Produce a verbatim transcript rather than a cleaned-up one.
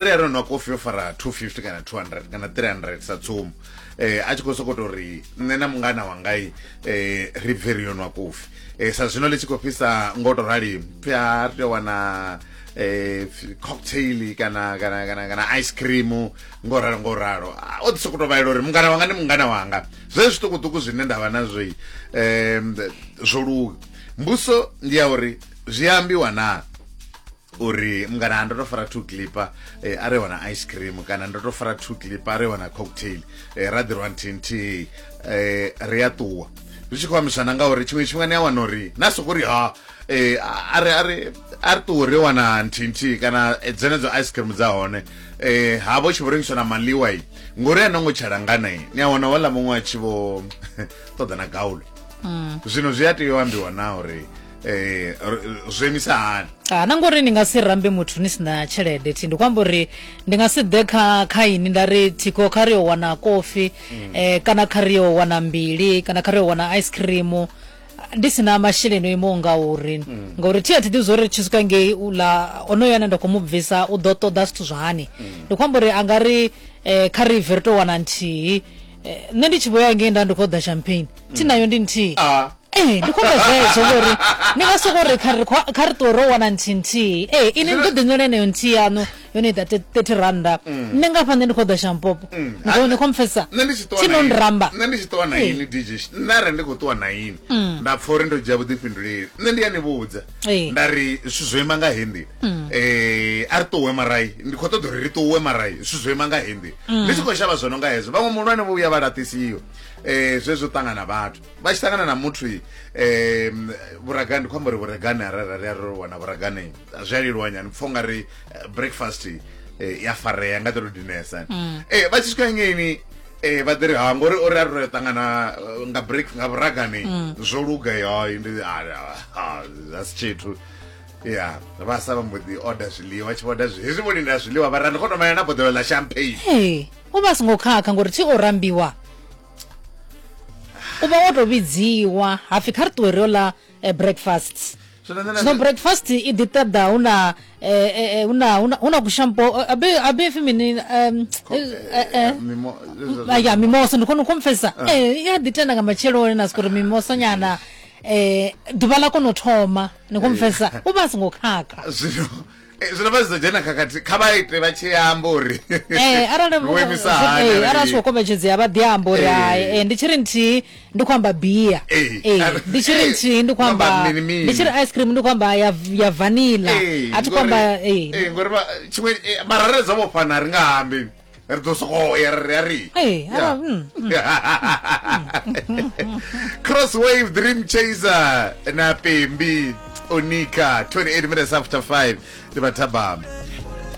Ri a ri nwa kofi yo fara two fifty kana two hundred kana three hundred sa tsumbo, eh a tshi khou sokou tou ri nṋe na mungana wangai eh ri bve ri yo nwa kofi, eh sa zwino ḽi tshi khou fhisa ngo to rali, pfi a ri tea u wana eh cocktail kana kana kana kana ice cream ngo ralo ngo ralo. O ḓi sokou tou vhalela uri mungana wanga ndi mungana wanga, zwezwi zwiṱukuṱuku zwine nda vha nazwo eh zwo luga. Mbuso ndi ya uri zwi ambiwa na uri mungana ndo to fara two clipper eh, a ri wana ice cream kana ndo to fara two clipper a ri wana cocktail, eh, ra ḓirwa nthihi nthihi eh, ri a ṱuwa. Zwi tshi khou ambisana ngauri tshiṅwe tshifhinga ni a wana uri na soko ri ha eh, a ri a ri a ri ṱuwe ri wana nthihi nthihi kana dzenedzo ice cream dza hone eh, ha vho tshi vho rengiswa na maḽiwa i ngori a no ngo tsha langana i ni a wana wala muṅwe a tshi vho ṱoḓa na gaulo. Zwino zwi a tea u ambiwa na uri eh zwo imisa hani. Ah, na ngori ni nga si rambe muthu ni sina tshelede thi, ndi khou amba uri ndi nga si ḓe kha kha ini nda ri thiko kha ri yo wana kofi mm. eh, kana kha ri yo wana mbili kana kha ri yo wana ice cream ndi sina masheleni o imaho ngauri mm. ngauri thi a thi ḓivhi zwa tshi swika ngei uḽa onoyo ane nda khou mu bvisa u ḓo ṱoḓa zwithu zwa hani. Mm. Ndi khou amba uri a nga ri eh, kha ri bve ri tou wana nthihi, eh, nṋe ndi tshi vho ya ngei nda ndi khou ḓa champagne thi nayo ndi nthihi. Ah. Ee, ndi khou amba zwezwo ngori ni nga soko ri kha ri kha ri ṱuwe ro wana nthihi nthihi. Ee, ini ni ḓo ḓi nwela heneyo nthihi yaṋu yone ita thirty randa. Nṋe nga hafha nṋe ndi khou ḓa shampopo. Ni khou ni khou mpfesesa? Nṋe ndi tshi ṱuwa Thi no nramba. Nṋe ndi tshi ṱuwa na ini D J, nṋe arali ndi khou ṱuwa na ini nda pfha uri ndo dzhia vhuḓifhinduleli, nṋe ndi a ni vhudza nda ri zwithu zwo ima nga heyi nḓila, eh a ri ṱuwe marai, ndi khou ṱoḓa uri ri ṱuwe marai, zwithu zwo ima nga heyi nḓila. Ndi tshi khou shavha zwo no nga hezwo, vhaṅwe muhulwane vho vhuya vha laṱisiwa eh zwezwo ṱangana vhathu vha tshi ṱangana na muthu eh vhuragani, ndi khou amba uri vhuragani arali ri a ri wana vhuragani zwi a leluwa nyana, pfha ungari breakfast eh, ya farea nga ḓo dinesa. Eh vha tshi swika ngeini eh vha ḓi ri ha ngori ori a ri ṱangana nga break nga vhuragani zwo luga yo ndi a si tshithu. Ya vha sa vha mbo ḓi order zwiḽiwa, tshi order hezwi vho lindela zwiḽiwa vha ra ndi khou to mala na boḓelo ḽa champagne. Ee, u vha songo khakha ngori thi o rambiwa, u vha wo to vhidziwa hapfi kha ri ṱuwe ri yo ḽa breakfast. Zwino breakfast i ḓi ṱoḓa hu na hu na hu na kushampo abe abe pfi mini ya mimosa, ndi khou mpfesesa. Eh ya ḓi tenda nga matsheloni na soko ri mimosa nyana eh ḓuvha ḽa kona u thoma, ni khou mpfesesa, u vha a songo khakha. Zwino zwino vha zwi ḓo dzhena khakhathi kha vha ite vha tshi amba uri eh arali eh arali zwi khou kombetshedzea vha ḓi amba uri hai, ndi tshi ri nthihi ndi khou amba bia, eh ndi tshi ri nthihi ndi khou amba, ndi tshi ri ice cream ndi khou amba ya ya vanilla, a thi khou amba eh ngori tshiṅwe mara re dzo vhofhana ri nga ambi ri ḓo sokou ya ri a ri eh Crosswave Dream Chaser na Pembi Onika, twenty-eight minutes after five ndi vhathabama.